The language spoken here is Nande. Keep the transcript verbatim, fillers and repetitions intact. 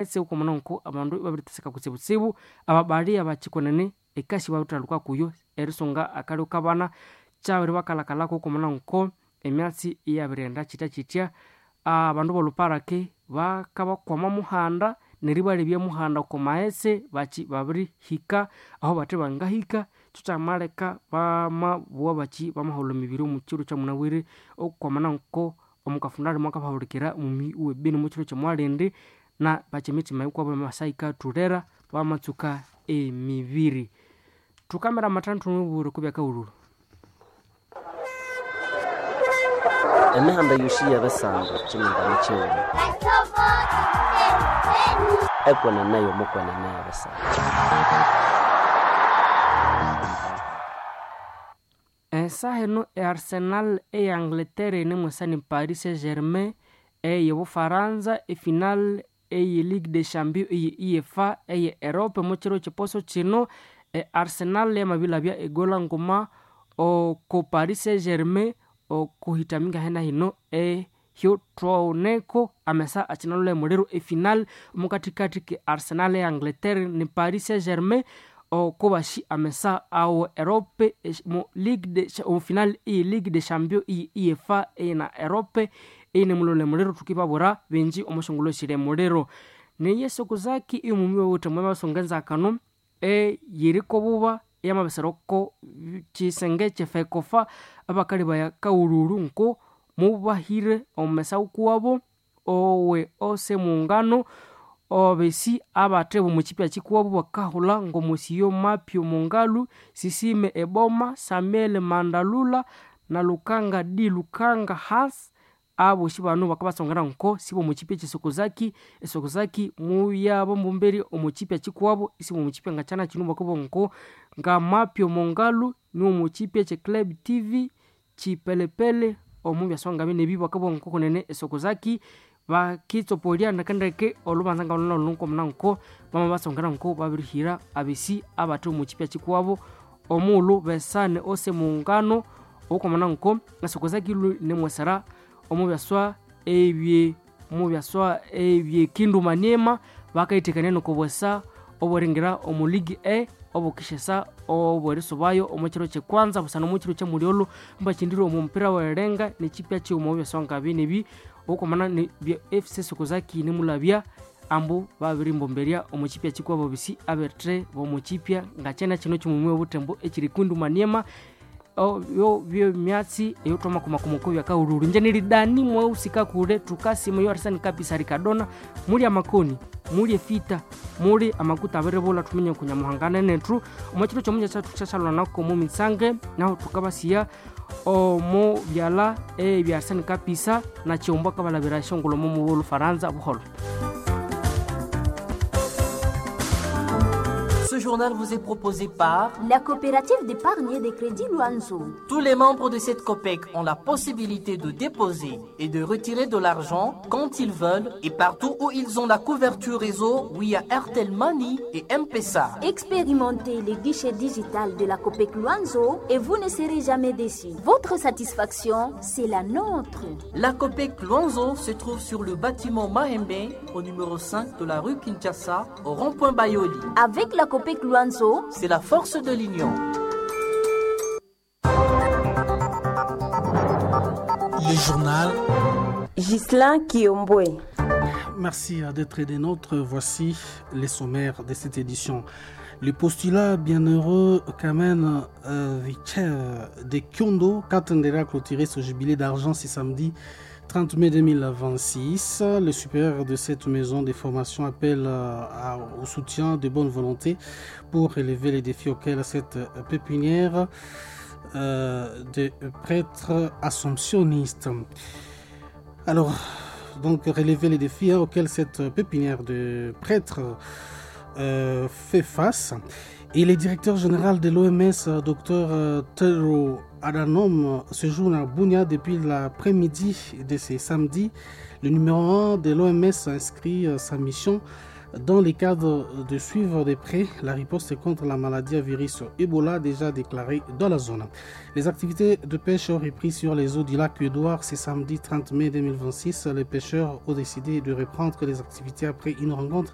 Ese ukomana nko abandu babiriteseka kutsibutsibu ababali abakyikonene ekasi babithaluka kuyo erisunga akalyo kabana kyabiri bakalakalako ukomana nko emyatsi iyabirighenda kyityakyitya. Abandu bolhuparake bakabakwama muhanda neribalebya muhanda oko maghetse bakyi babirihika aho bathe bangahika kyo kyamaleka bamabugha bakyi bamaholha emibiri omukyiro kyamunabwire okwamana nko omukafundali mwakabahulikira omuyi owe Beni omukyiro kyomwalindi na bakyi emitima yikuwabo yamasa yikatholera bamatsuka emibiri. Thukamira amathandu thumubwira okwa byakahulhulhu. Emihanda yosi yebisando kyimingane kyighuma ekwenene yomukwenene yebisando. Esaha eno e Arsenal eya Angleterre yinemwesa ni Paris Saint-Germain eye Bufaransa efinal eye Ligue des Champions eye UEFA eye Europe omukyiro kyiposo kyino e Arsenal yamabilhabya egola nguma oko Paris Saint-Germain okuhitaminga hena hino ehyo thwawuneko amesa akyinalholha emuliro efinal omukathikathi ke Arsenal eya Angleterre ni Paris Saint-Germain okubasi amesa awo Europe mu Ligue de omu final eye Ligue des Champions eye UEFA eye na Europe eyinemulholha emuliro thukibabwira bingi omusyongulho siri emuliro. Neye Sokuzaki eyomumi wawithe omwabasunga enzakano eyirikobuba eyamabisira oko kyisenge kyefekofa abakalebaya kaghulhulhu nko mubahire omumesa wukuwabo owe ose mungano obesi abathe bomukyipya kyikuwabo bakahulha ngomosiyo Mapio Mongalu, Sisime Eboma, Samuel Mandalula na Lukanga D Lukanga Hans abosi bano bakabasongera nko sibomukyipya kyesokozaki esokozaki muyabo mbumberi omukyipya kyikuwabo isibomukyipya ngakyana kino bakabugha nko nga Mapio Mongalu niwomukyipya kye Club T V kyipelepele omubyaswa ngabinebi bakabugha nko kunene esokozaki bakitsopolya ndekendeke olhubanza ngalhulhu nkomuna nko bamabasongera nko babirihira abesi abathe omukyipya kyikuwabo omughulhu besane ose mungano okomuna nko esokozaki nemwesera omubyaswa ebye omubyaswa ebyekindu maniema bakayithekania nokobwesa obweringira omu Ligue E obukishesa obwerisubayo omukyiro kyekwanza busana omukyiro kyamulyolho mbakyindire omu mupira werenga nekyipya kyighuma omubyaswa ngabinebi okwamana bya F C Sokozaki nimulabya ambu babirimbomberya omukyipya kyikuwabo bisi abethe bomukyipya ngakyana kino kyimumi obuthembo ekyiri Kindu Maniema yo byemyatsi eyothwamakomakomoko byakahulhulhu inje niridani mwaghusika kule thukasima yo Arsene Kapisa Ricardona muli amakoni muli efita muli amakuta abiribulha thuminye kunyamuhanga nethu omwakiro kyomunja kyathu kyasyalwanako omu mitsange nahu thukabasiya omu byalha ebya Arsene Kapisa na kyihumbu akabalhabira esyongulho omu Lufaransa buholho. Ce journal vous est proposé par la coopérative d'épargne et de crédit Luanzo. Tous les membres de cette COPEC ont la possibilité de déposer et de retirer de l'argent quand ils veulent et partout où ils ont la couverture réseau via Airtel Money et M-Pesa. Expérimentez les guichets digital de la COPEC Luanzo et vous ne serez jamais déçus. Votre satisfaction, c'est la nôtre. La COPEC Luanzo se trouve sur le bâtiment Mahembe au numéro cinq de la rue Kinshasa au rond-point Bayoli. Avec la COPEC Luanzo, c'est la force de l'union. Le journal Ghislain Kiombwe. Merci d'être des nôtres. Voici les sommaires de cette édition. Le postulat bienheureux Kamen euh, Vicaire de Kyondo Katendera clôturé ce jubilé d'argent ce samedi trente mai deux mille vingt-six. Le supérieur de cette maison de formation appelle à, au soutien de bonne volonté pour relever les défis auxquels cette pépinière euh, de prêtres assomptionnistes. Alors, donc, relever les défis hein, auxquels cette pépinière de prêtres euh, fait face. Et le directeur général de l'O M S, docteur Tedros Adhanom, séjourne à Bunia depuis l'après-midi de ce samedi. Le numéro un de l'O M S inscrit sa mission Dans le cadre de suivre de près la riposte contre la maladie à virus Ebola déjà déclarée dans la zone. Les activités de pêche ont repris sur les eaux du lac Édouard ce samedi trente mai deux mille vingt-six. Les pêcheurs ont décidé de reprendre les activités après une rencontre